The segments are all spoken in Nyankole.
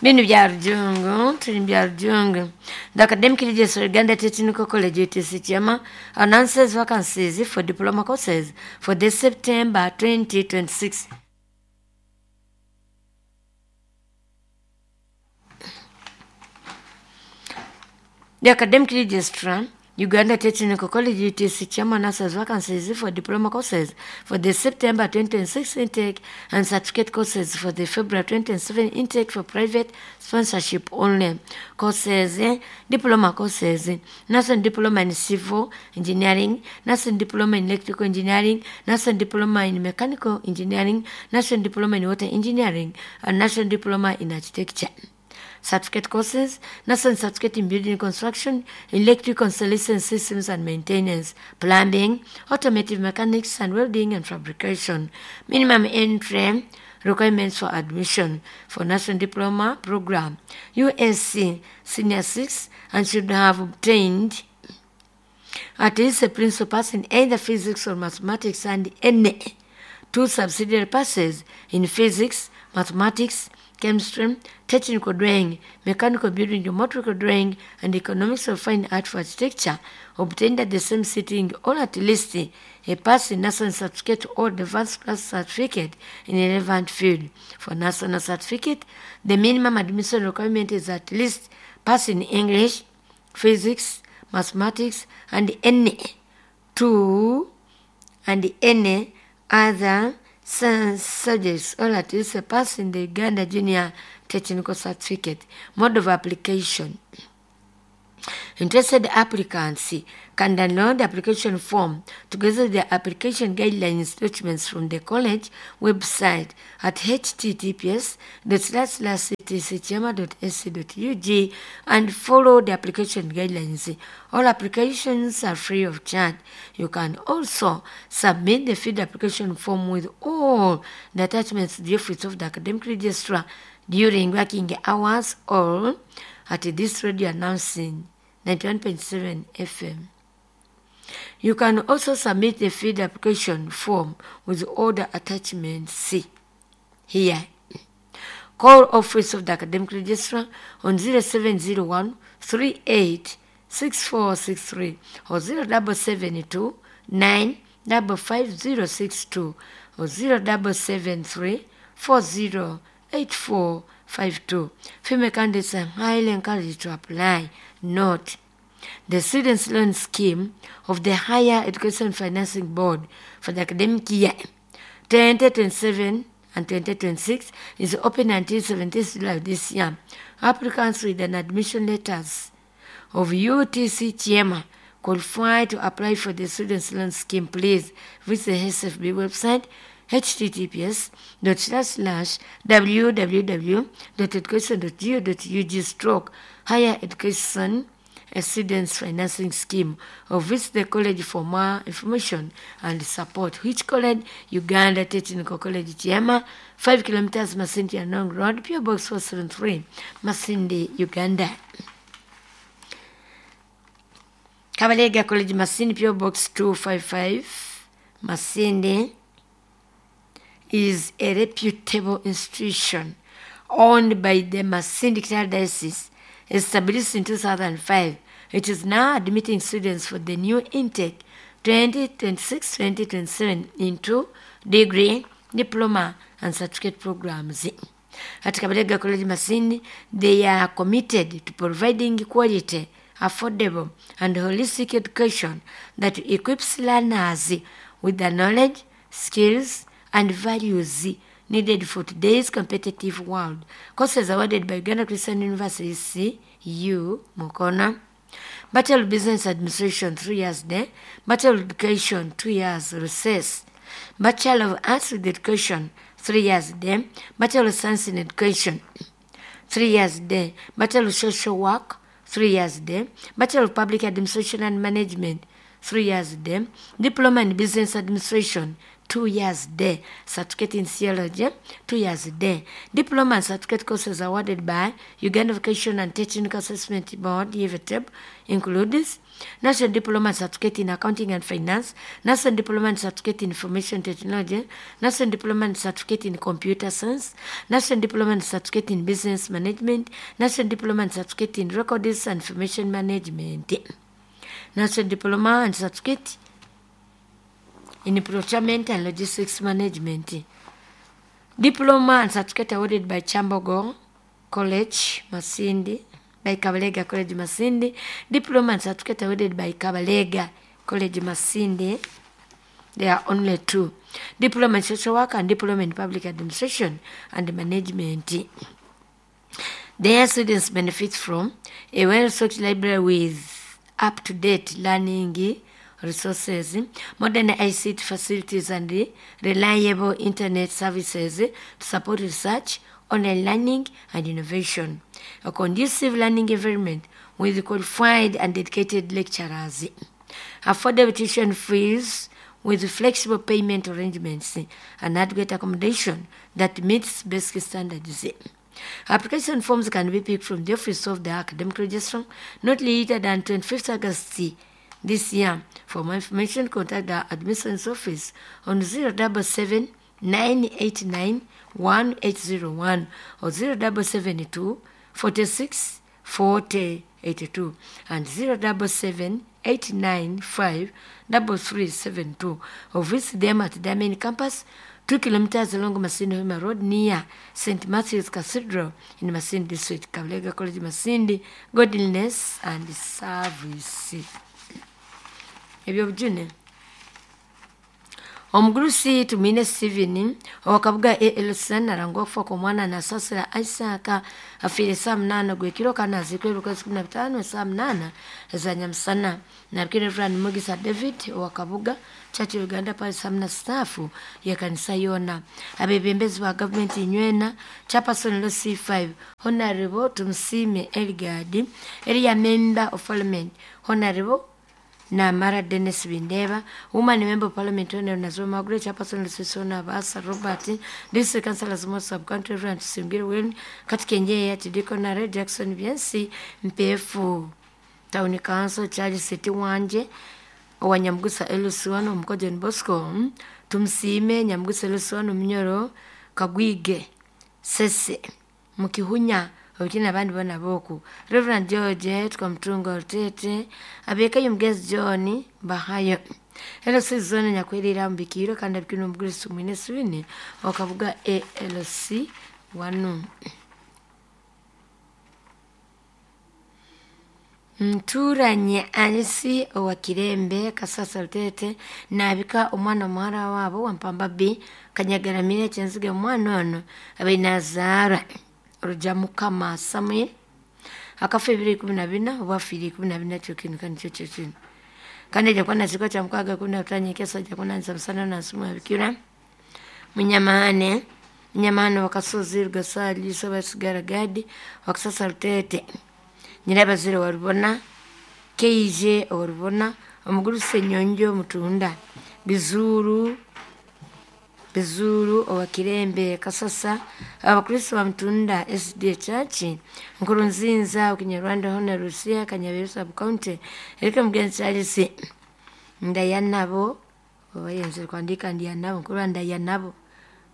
Binu bya Rujungu, turi bya Rujungu. The Academic Registrar Uganda Technical College UTC Kyema announces vacancies for diploma courses for this September 2026. The Academic Registrar, Uganda Technical College UTC Chairman announces vacancies for diploma courses for the September 2026 intake and certificate courses for the February 2027 intake for private sponsorship only. Courses, diploma courses, National Diploma in Civil Engineering, National Diploma in Electrical Engineering, National Diploma in Mechanical Engineering, National Diploma in Water Engineering, and National Diploma in Architecture certificate courses, National Certificate in Building Construction, Electrical Installation Systems and Maintenance, Plumbing, Automotive Mechanics and Welding and Fabrication. Minimum entry requirements for admission for National Diploma Program, USC Senior 6, and should have obtained at least a principal pass in either physics or mathematics and any two subsidiary passes in physics, mathematics, chemistry, technical drawing, mechanical building, geometrical drawing, and economics of fine art for architecture, obtained at the same sitting or at least a pass in national certificate or advanced class certificate in a relevant field. For national certificate, the minimum admission requirement is at least pass in English, physics, mathematics, and any two and any other science subjects or at least a pass in the Uganda Junior Technical Certificate. Mode of application. Interested applicants can download the application form together with the application guidelines documents from the college website at https ctcchema.ac.ug and follow the application guidelines. All applications are free of charge. You can also submit the filled application form with all the attachments to the office of the academic registrar during working hours or at this radio announcing 91.7 FM. You can also submit the filled application form with all the attachments C here. Call Office of the Academic Registrar on 0701 38 6463 or 0772 955 or 0773 408452. Female candidates are highly encouraged to apply. Note, the Students' Loan Scheme of the Higher Education Financing Board for the academic year 2027 and 2026 is open until 17th July this year. Applicants with an admission letters of UTC Chiema qualify to apply for the Students' Loan Scheme. Please visit the SFB website https www.education.go.ug stroke higher education a students financing scheme or visit the college for more information and support. Which college? Uganda Technical College Chiema, 5 kilometers Masindi Anong Road, PO Box 473, Masindi, Uganda. Kabalega College Masindi, PO Box 255, Masindi is a reputable institution owned by the Masindi Diocese. Established in 2005, it is now admitting students for the new intake 2026-2027 into degree, diploma, and certificate programs. At Kabalega College Masindi, they are committed to providing quality, affordable, and holistic education that equips learners with the knowledge, skills, and values needed for today's competitive world. Courses awarded by Uganda Christian University, CU, Mukono. Bachelor of Business Administration, 3 years there. Bachelor of Education, 2 years recess. Bachelor of Arts with Education, 3 years there. Bachelor of Science in Education, 3 years there. Bachelor of Social Work, 3 years there. Bachelor of Public Administration and Management, 3 years there. Diploma in Business Administration, 2 years day, certificate in theology, 2 years day. Diploma and certificate courses awarded by Uganda Vocational and Technical Assessment Board, UVTEB, includes National Diploma and Certificate in Accounting and Finance, National Diploma and Certificate in Information Technology, National Diploma and Certificate in Computer Science, National Diploma and Certificate in Business Management, National Diploma and Certificate in Records and Information Management, National Diploma and Certificate in Procurement and Logistics Management. Diploma and certificate awarded by Chambogo College, Masindi, by Kabalega College, Masindi. Diploma and certificate awarded by Kabalega College, Masindi. There are only two. Diploma in Social Work and Diploma in Public Administration and Management. Their students benefit from a well-stocked library with up-to-date learning resources, modern ICT facilities and reliable internet services to support research, online learning and innovation. A conducive learning environment with qualified and dedicated lecturers. Affordable tuition fees with flexible payment arrangements and adequate accommodation that meets basic standards. Application forms can be picked from the office of the academic registrar not later than 25th August this year. For more information, contact the admissions office on 077 989 1801 or 0772 46 40 82 and 077 895 3372 or visit them at their main campus, 2 kilometers along Masindi Hoima Road near St. Matthew's Cathedral in Masindi District, Kabalega College, Masindi, Godliness and Service. Ebyobujune. Omugurusi Tumwine Steven owakabuga ALCN arangwa okufa kw'omwana Nasasira Isaac afiire saa munaana gw'ekiro kandi aziikwa ebiro 15 saa munaana eza nyamusana. Nabikire Reverend Mugisa David owakabuga Church of Uganda Parish hamwe na sitaafu y'ekanisa yoona. Abeebembezi ba gavumenti nywena Chairperson Law C5 Honorable Tumusiime Eligard area Member of Parliament Honorable Namara Dennis Bindeba, Woman Member of Parliament Honorable Nazoma Margaret, Chairperson Lusisona Abasa Robert, District Councillors Mo Sub-County Reverend Tusingwire William, Katikenjeya Tidikonare Jackson Byansi, Mpefu Town Council Charles City Wanje, owa Nyamugusa Elusiwano Omuko John Bosco, Tumusiime Nyamugusa Elusiwano Munyoro Kagwige Sese Mukihunya obukina abandi bona boku Reverend George Twamutunga Orutete abekayo Mugezi John Bahayo LC zone nyakwerera mubikiro kandi abikino omugurisi Tumwine Steven okabuga ALC 1. Nturanye Alice owa Kirembe Kasasa Rutete nabika omwana omuhara waabo wa Mpamba B Kanyagaramire Kyenziga omwana ono abaire nazaarwa Ruja Mukama Samuel akafa ebiro 14 oba afiire 14 kyo kintu kandi kyo kino kandi ajja kuba nazikwa kya mukaaga 15 nyekesa ajja kunanisa musana nansimu abikira Munyamahane Munyamahane wakasozi Rugasali Sobasigara Gadi wakasasa Rutete Nyirabazire warubona Keije orubona omugurusi Nyonjo Mutunda Bizuru owa Kirembe Kasasa abakristo ba Mutunda SDA Church Nkurunzinza Okinyarwanda Hona Rusia Kanyabiru Sub County Erika Mugenzi Charles Ndayanabo obayenze kwandika Ndiyanabo nkurwa Ndayanabo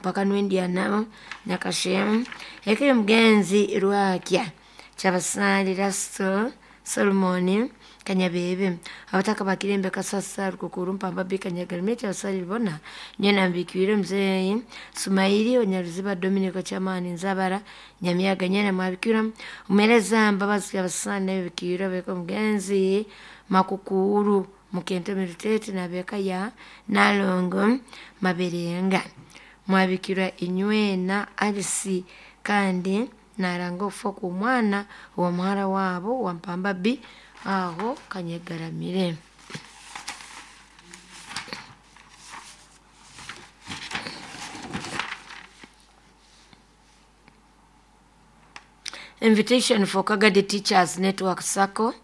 mpaka nwendiyanabo Nyakashemu Erika Mugenzi Rwakya Kyabasali Rasto Solomon Kanyabebe abataka bakirembe Kasasa Rukukuru Mpamba B Kanyagarime Kyabasali bona nyena mbikiwire mzeyi Sumaili Onyaruziba Dominico Chamani Nzabara Nyamiyaga nyena mwabikira umereza Mbabazi Kyabasali nabikiwire beko Mugenzi Makukuru Mukente Mirutete nabeka ya Nalongo Maberenga mwabikira inywena Alice kandi naranga okufa kw'omwana owa muhara waabo wa Mpamba B aho Kanyegaramire. Invitation for Kagadi Teachers Network Circle.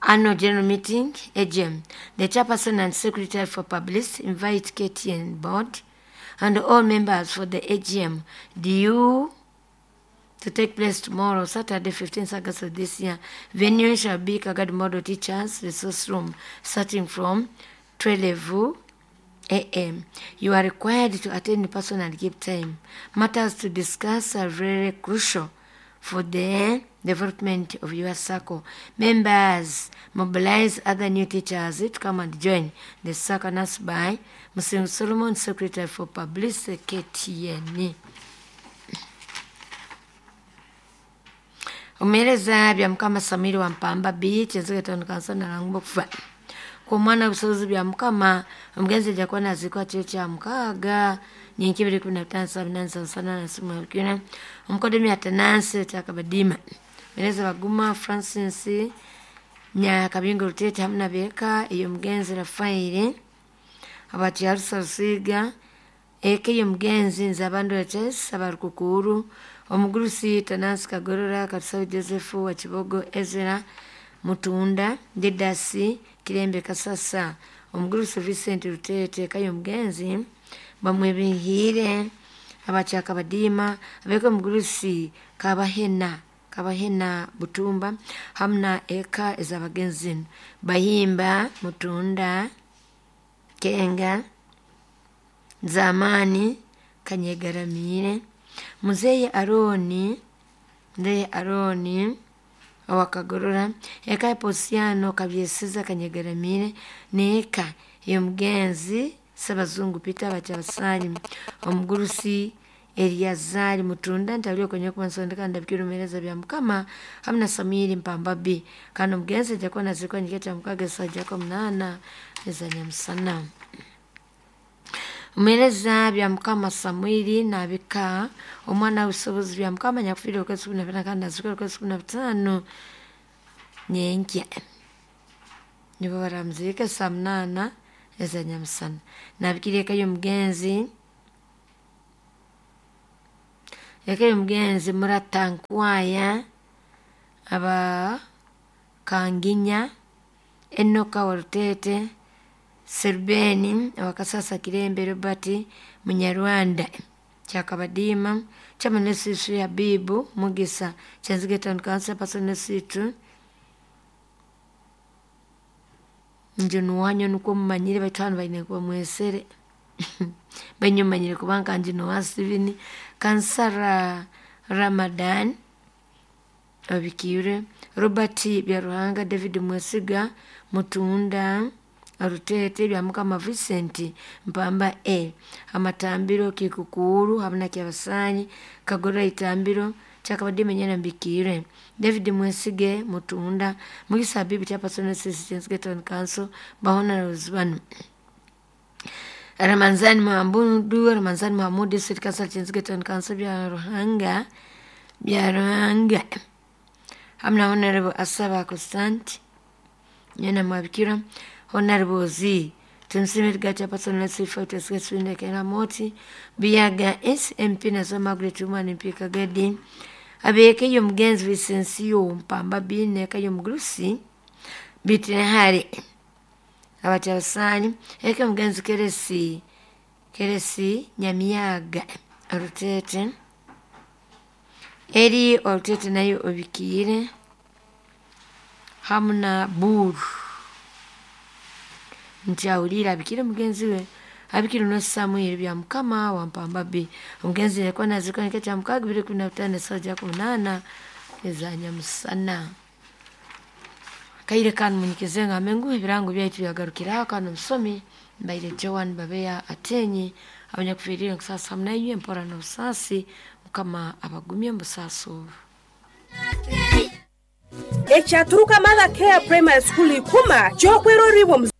Annual General Meeting, AGM. The chairperson and secretary for publicity invite KTN board and all members for the AGM due to take place tomorrow, Saturday, 15th August of this year. Venue shall be Kagadi Model Teachers Resource Room, starting from 12 a.m. You are required to attend in person and give time. Matters to discuss are very crucial for the development of your circle. Members, mobilize other new teachers to come and join the circle announced by Muslim Solomon, Secretary for Publicity, KTN. Omuheereza bya Mukama Samiri wa Mpamba B, Kyenzige Town Council nalangwa okufa kw'omwana busobozi bya Mukama omugenzi ajja kuba naziikwa kiro kya mukaaga nyenkya ebiro ikumi na bitaano saa munaana za musana na simu abikira omukodemi Atanasi Kyakabadiima Muheereza Baguma Francis Nyakabingo Rutete hamu na beeka ey'omugenzi Rafairi abakyarusa Rusiga eka ey'omugenzi Nzabandora Charles abarukukuru omugurusi Tanasi Kagorora Katusabe Joseph wa Kibogo Ezra Mutunda Didasi Kirembe Kasasa omugurusi Vincent Rutete eka y'omugenzi Bamwebihiire abakyakabadiima abeeka omugurusi Kabahena Kabahena Butumba hamu na eka ez'abagenzi zinu Bahimba Mutunda Kenga Zamani Kanyegaramiire Muzeeyi Aroni Muzeeyi Aroni owakagorora eka ya Posiano Kabyesiza Kanyegaramiire n'eka ey'omugenzi Ssabazungu Peter Bakyabasali omugurusi Eriazari Mutunda ntalio kwenye kuba nsondeka ndabikira omuheereza bya Mukama hamu na Samwiri Mpamba B kandi omugenzi ajja kuba naziikwa nyekya kya mukaaga esaaha jako munaana eza nyamusana. Omuheereza bya Mukama Samwiri nabika omwana w'obusobozi bya Mukama nyakufiire okwezi kumi na bina kandi naziikwa okwezi kumi na bitaano nyenkya. Nibo baramuziika saa munaana eza nyamusana. Nabikira eka y'omugenzi eka y'omugenzi Murata Nkwaya aba Kanginya Enoka wa Rutete Serubeni owakasasa Kirembe Robert Munyarwanda Kyakabadiima Chairman Nesitu Habibu Mugisa Kyenzige Town Council Person Nesitu nje nuwanyo nukwo mumanyire baitu hanu baine kuba mwesere baine mumanyire kubanga nje nowa Steven Kansara Ramadan Obikiire Robert Byaruhanga David Mwesiga Mutunda Rutete bya Mukama Vincent Mpamba A Amatambiro Kikukuuru hamu na Kyabasanyi Kagorora Itambiro Kyakabadiima Nyana Mbikiire David Mwesige Mutunda Mugisa Habibu Chairperson Assistant Town Council Bahonarose banu Ramanzani Mahamudu Ramanzani Mahamud District Council Kyenzige Town Council bya Ruhanga bya Ruhanga hamu na Honorable Asaba Constant Nyana Mwabikira Honorable Z Tumusiime Gacha Person Lesifoteswindekera Moti Biyaga SMP nazo Margaret Woman MP Kagadi abeeka ey'omugenzi Vincentio Mpamba B n'eka y'omugurusi Bitinehare abakyabasani eka y'omugenzi Keresi Keresi Nyamiyaga Rutete eri Orutete nayo obikiire hamu na Buru nti awulire abikire mugenzi we abikire no Samuel bya Mukama wa Mpamba B omugenzi yakuba naziikwa nkya kya mukaaga bibiri kumi na bitaano esaaha ja kumi munaana eza nyamusana. Kaire kanu munyikize ngambe ngu ebirango byaitu byagarukiraho kanu omusomi mbaire Joan Babeya Atenyi abanyakufiirire nkusaasa hamu nainywe empora n'obusaasi Mukama abagumye omu busaasi obu. Ekyaturuka Mother Care Primary School ikuma kyokweroribwa.